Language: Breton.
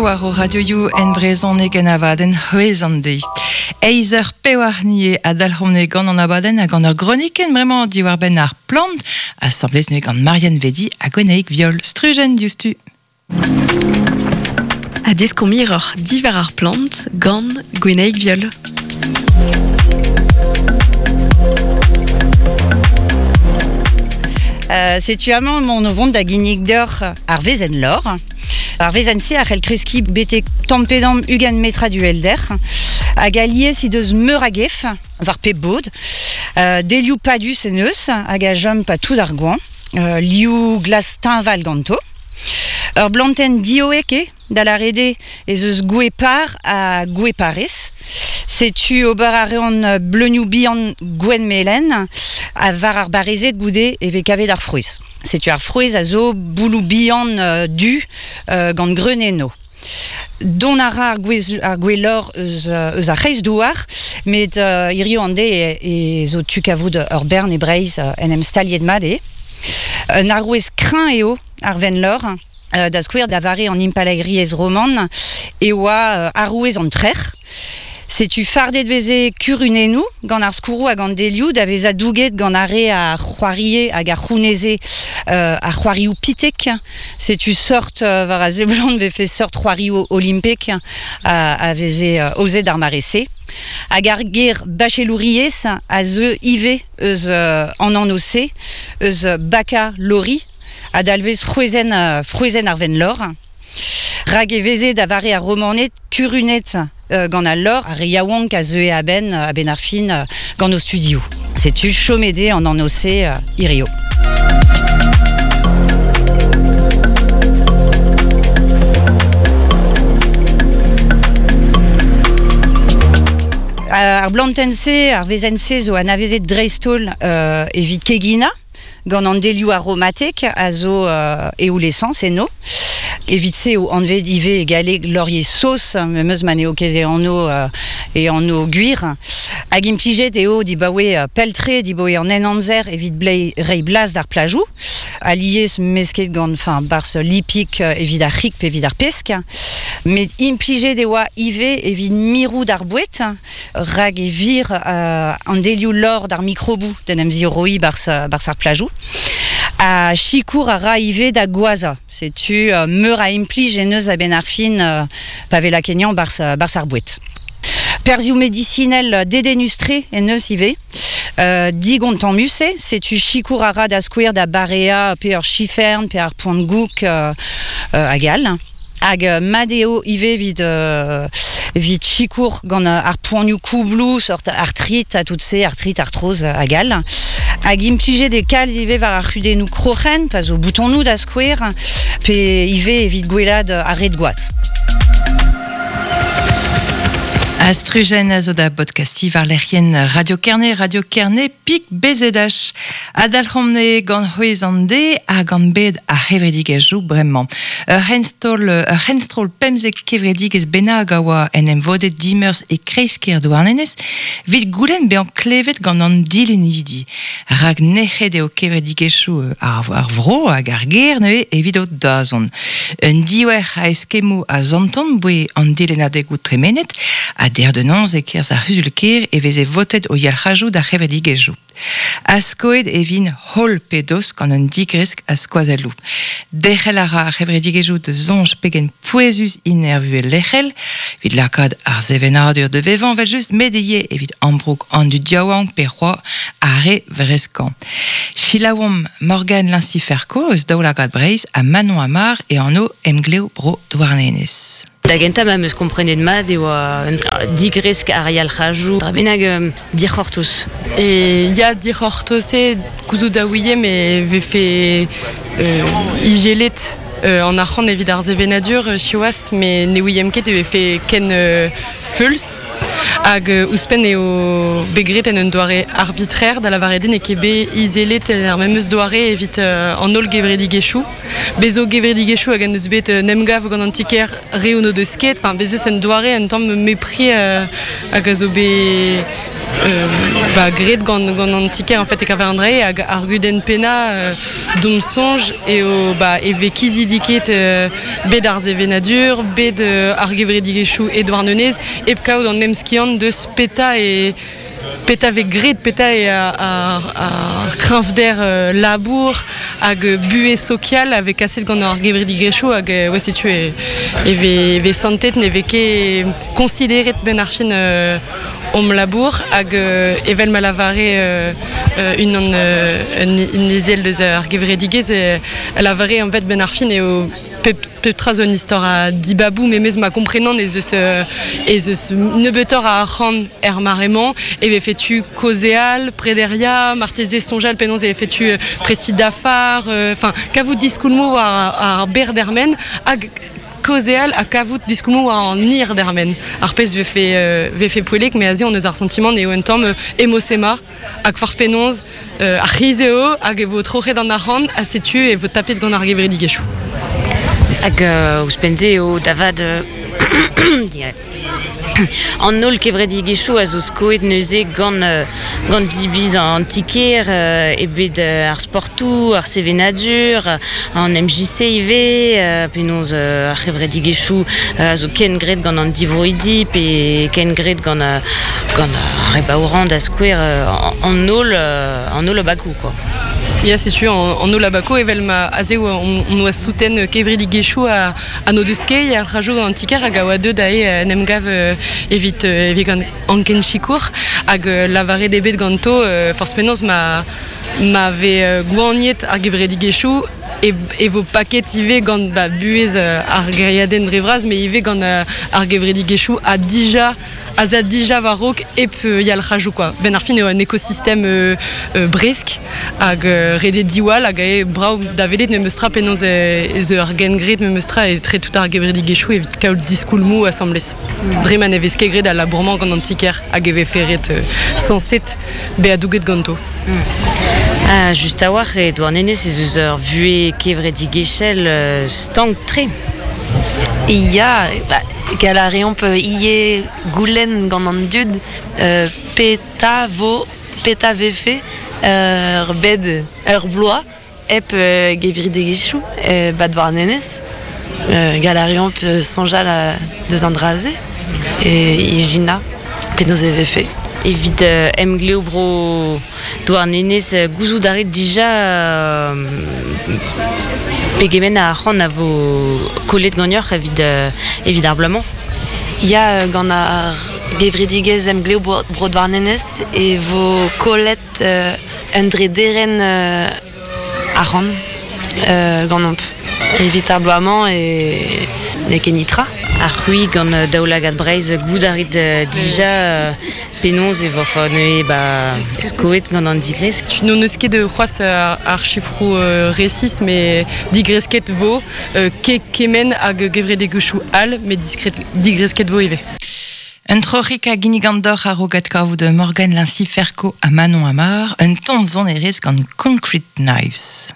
war o radioioù en brezhoneg en abadenn c'hwezh an deiz. Eizh eur pewar nie a dalc'homp gant an abadenn ha gant ur gronikenn bremañ diwar-benn ar plant, asambles neuze gant Marianne Vedi ha Gwenaig Viol. Strujenn diouzhtu. Ha deskomp hiroc'h diwar ar plant gant Gwenaig Viol. Setu amañ emaon o vont da ginnig deoc'h ar wezenn lor. Ar wezenn-se a c'hell kreskiñ betek tamm-pe-damm 20 metrad uhelder hag alies he deus meur a gef war pep bod. Delioù padus en deus hag a chom pa tout ar goañv. Liv glas teñval ganto. Ur blantenn dioek eo, da lâret eo ez eus gwez par ha gwez parez. Setu ober a reont bleunioù bihan gwenn-melen ha war ar barrezed goude e vez kavet ar frouezh. Setu ar frouezh a zo bouloù bihan du gant greun enno. Dont a ra ar gwez ar gwelloc'h eus, eus ar c'hreizdouar, met hiziv an deiz e zo tu kavout ur bern e Breizh en em staliet mat eo. Un arouez kreñv eo ar Venlor. Da skouer, da vare an Impalaeriezh roman e oa arouez an trec'h. Setu fardet veze kurunennoù gant ar skourroù hag an delioù da vezañ douget gant ar re a c'hoarie hag a c'houneze ar c'hoarioù pitek. Setu seurt war a seblant vefe seurt c'hoarioù olimpek a veze aozet d'ar mare-se. Hag ar ger bachelouriezh a zeu ivez eus an anv-se, eus baka lori, a dalvez frouezhenn, frouezhenn ar Venlor. Rak e veze da vare ar Romaned kurunet gant al lor ar re yaouank a zeue a-benn a-benn ar fin gant o studioù. Setu chomet eo an anv-se hirio. Ar blantenn-se, ar wezenn-se zo anavezet dreist-holl evit keginañ gant an delioù aromatek a zo eoul-esañs enno. Evit se eo anvet ivez e galleg laurier sauce, memes ma n'eo ket e anv e anv gwir. Hag implijet eo dibaoe pell-tre, dibaoe an Henamzer evit reiñ blaz d'ar plajoù. Alies mesket gant enfin, barzh lipig evit ar c'hig pe evit ar pesk. Met implijet e oa ivez evit mirout ar boued. Rak e vir an delioù lor d'ar mikroboù d'en em ziorroiñ barzh barzh ar plajoù. Ha sikour a ra ivez da goazhañ. Setu meur a implij en deus a-benn ar fin pa vez lakaet barzh barzh ar boued. Perzhioù medisinel dedennus-tre en deus ivez. Digontammus eo, setu sikour a ra da skouer da bareañ pe ur chifern pe ar poan-goûg hag all. Hag mat eo ivez evit evit sikour gant ar poanioù koubloù, sort artrit ha tout se, artrit, artroz hag all. Hag implijet eo kalz ivez war ar c'hudennoù kroc'hen, pa zo boutonoù da skouer, pe ivez evit gwellaat ar red-gwad. Astrujenn a zo da bodkastiñ war lec'hienn Radio Kerne, Radio Kerne pik BZH. Ha dalc'homp gant c'hwezh an de ha gant bed ar c'hevredigezhioù bremañ. Ur c'henstroll, ur c'henstroll 15 kevredigezh bennak a oa en em vodet dimeurzh e kreiz-kêr Douarnenez evit goulenn bezañ klevet gant an dilennidi. Rak nec'het eo kevredigezhioù ar, ar vro hag ar gêr neuze evit o dazont. Un diouer a eskemmoù a santont boe an dilennadegoù tremenet ha dec'h da noz e-kerzh ar c'huzul-kêr e veze votet o yalc'hajoù d'ar c'hevredigezhioù. Ha skoet e vint holl pe dost gant un digresk a skoazelloù. Derc'hel a ra ar c'hevredigezhioù da soñj pegen pouezus int er vuhez lec'hel, evit lakaat ar sevenadur da vevañ evel-just, met ivez evit ambroug an dud yaouank pe c'hoazh ar re vreskañ. Selaouomp Morgane Linciferco eus Daoulagad Breizh ha Manon Amar e anv Emglev Bro Douarnenez. Da gentañ ma 'm eus komprenet mat e oa un digresk ar yalc'hajoù dra bennak dic'hortoz. E ya dic'hortoz eo gouzout a ouiemp e vefe ijelet an arc'hant evit ar sevenadur siwazh met ne ouiemp ket e vefe ken feuls. Hag ouzhpenn eo bet graet en un doare arbitraire da lavaret eo n'eo ket bet izelet en ar memes doare evit an holl gevredigezhioù. Bez zo gevredigezhioù hag en deus bet un emgav gant an ti-kêr re n'o deus ket. Enfin, bez eus un doare un tamm mepris hag a zo bet Ba graet gant gant an ti-kêr en fait e kaver an dra-se hag ar gudenn pennañ d'hom soñj eo ba e vez kizidiket bed ar sevenadur, bed ar gevredigezhioù e Douarnenez hep kaout an emskiant deus petra e petra vez graet, petra eo ar kreñvder labour hag buhez sokial a vez kaset gant ar gevredigezhioù hag ouais, setu e, e vez, vez santet ne vez ket konsideret benn ar fin hom labour hag evel ma lavare unan un ezel deus ar gevredigezh e lavare en fait benn ar fin eo pep, pep tra zo un istor a dibaboù memes ma komprenan ez eus ez eus nebeutoc'h a arc'hant er mare-mañ e vefe tu kaozeal, prederiañ, marteze soñjal penaos e vefe tu prestiñ dafar, enfin kavout diskoulmoù war ar berr dermen hag kaozeal ha kavout diskoulmoù war an hir dermen. Ar pezh vefe, vefe poellek, met aze on eus ar santimant eo un tamm emosema hag forzh penaos ar c'hiz eo hag e vo troc'het an arc'hant ha setu e vo tapet gant ar gevredigezhioù. Hag ouzhpenn-se eo da vat An holl kevredigezhioù a zo skoet neuze gant gant diviz an ti-kêr e bed ar sportoù, ar sevenadur, an MJC ivez, penaos ar c'hevredigezhioù a zo ken graet gant an divroidi pe ken graet gant gant ar re baourañ da skouer an holl an holl abakoù quoi. Ya, setu an holl abakoù evel ma aze on oa souten kevredigezhioù a Ha n'o deus ket ar rajoù gant an ti-kêr hag a oa deuet aze en em gav evit evit gant anken sikour hag lavaret eo bet ganto forzh penaos ma ma vez goaniet ar gevredigezhioù e, e vo paket ivez gant ba, buhez ar gêriadenn dre vras met ivez gant ar gevredigezhioù ha dija az a dija war-raok hep yalc'hajoù quoi. Benn ar fin eo un ekosistem bresk hag ret eo diwall hag eo brav da welet memestra penaos ez eo ur gengred memestra etre tout ar gevredigezhioù evit kaout diskoulmoù asambles. Dre ma ne vez ket graet al labour-mañ gant an ti-kêr hag e vefe ret sañset bezañ douget ganto. Ah, just a-walc'h e Douarnenez ez eus ur vuhez kevredigezhel stank-tre. Ya, ba, gall a reomp ivez goulenn gant an dud petra vo, petra vefe ur bed, ur bloaz hep gevredigezhioù 'ba Douarnenez. Gall a reomp soñjal deus an dra-se e ijinañ penaos e vefe. Evit emglev bro Douarnenez, gouzout a rit dija pegement a arc'hant a vo kollet ganeoc'h evit, evit ar bloaz-mañ? Ya, gant ar gevredigezh Emglev Bro Douarnenez e vo kollet un drederenn arc'hant ganeomp. Evit ar bloaz-mañ e n'eo ket nitra. Ha c'hwi gant Daoulagad Breizh, goût a rit dija penaos e voc'h neuze ba skoet gant an digresk? N'hon eus ket c'hoazh ar sifroù resis, met digresket vo ket kement hag gevredigezhioù all, met digresket vo ivez. Un troc'hig a ginnigan deoc'h a-raok adkavout Morgan Lincy-Ferco ha Manon Amar, un ton sonerezh gant Concrete Knives.